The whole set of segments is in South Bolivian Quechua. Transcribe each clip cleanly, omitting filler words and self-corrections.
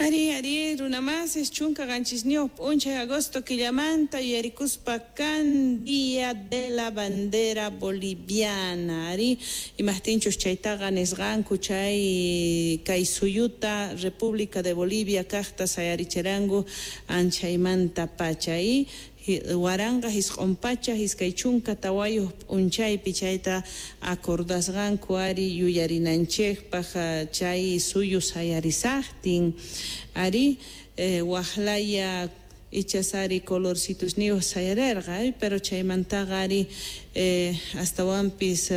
Ari, ari, runamasis 17 p'unchay agosto killamanta yuyarikuspa kan Día de la Bandera Boliviana. Ari, imajtinchus chaytaqa nisqanku chay kay suyuta República de Bolivia kajta sayarichiranku anchaymanta pacha y 1924 p'unchaypi chayta acordasqanku ari yuyarinanchikpaq chay suyu sayarisaqtin ari waqlaya ichas ari colorcitusniyuq sayarerqa pero chaymantaqa ari astawanpis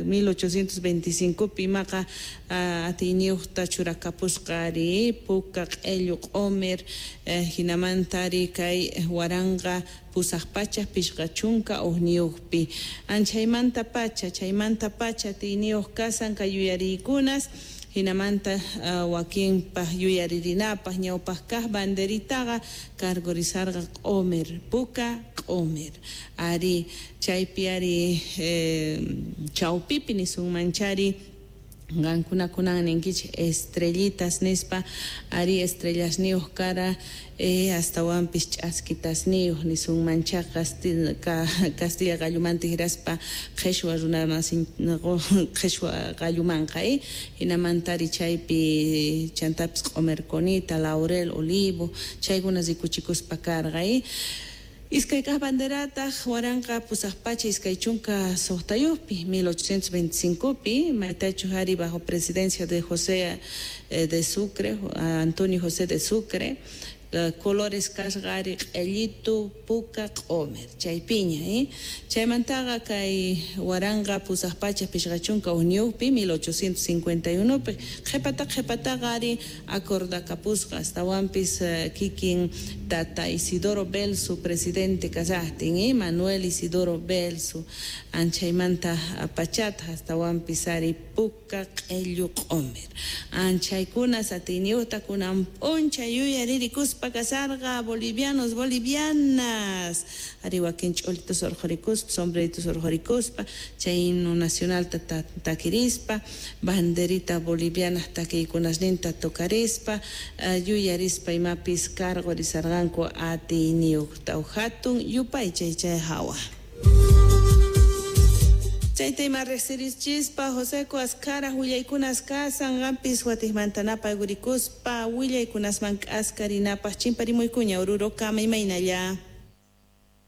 1825pi imaqa atiyniyuqta churakapusqa ari puka q'ellu q'umir hinamanta ari kay 1851pi anchaymanta pacha chaymantapacha atiyniyuq kasan kay yuyariykunas hinamanta wakinpaq yuyaririnapaq ñawpaq kaq banderitaqa cargorizarqa q'umir puka q'umir ari chaypi ari chawpipi nisunmanchari qankunakunan ninkichik estrellitas nispa ari estrellasniyuq kara astawanpis ch'askitasniyuq nisunmancha castilla qallumanta hiraspa qhishwa runamasin qhishwa qallumanqa hinamanta ari chaypi chantapis q'umirkunita laurel olivo chaykuna rikuchikuspa karqa. Iskay kaq banderataq 1826pi 1825pi maytachu ari bajo presidencia de José de Sucre, Antonio José de Sucre, colores kasqa ari q'ellitu puka q'umir chaypiña chaymantaqa kay 1851pi 1851pi qhipata qhipataqa ari acordakapusqa astawanpis kikin tata Isidoro Belzu presidente kasaqtin Manuel Isidoro Belzu anchaymanta pachata astawanpis ari puka q'ellu q'umir anchaykunas atiyniyuqta kunan p'unchay yuyaririkuspa kasarqa bolivianos bolivianas ari wakin ch'ulitus urqhurikuspa sombreritos urqhurikuspa chay himno nacionalta takirispa banderita boliviana takiykunasninta tocarispa yuyarispa imapis cargorizarqanku atiyniyuqta hatun yupaychay chay hawa. Chayta ima riqsirichispa Joseco Ascara willaykunas kasan qampis watiqmanta napayurikuspa willaykunasman k'askarinapaq chimparimuykuña Oruro kama imaynalla.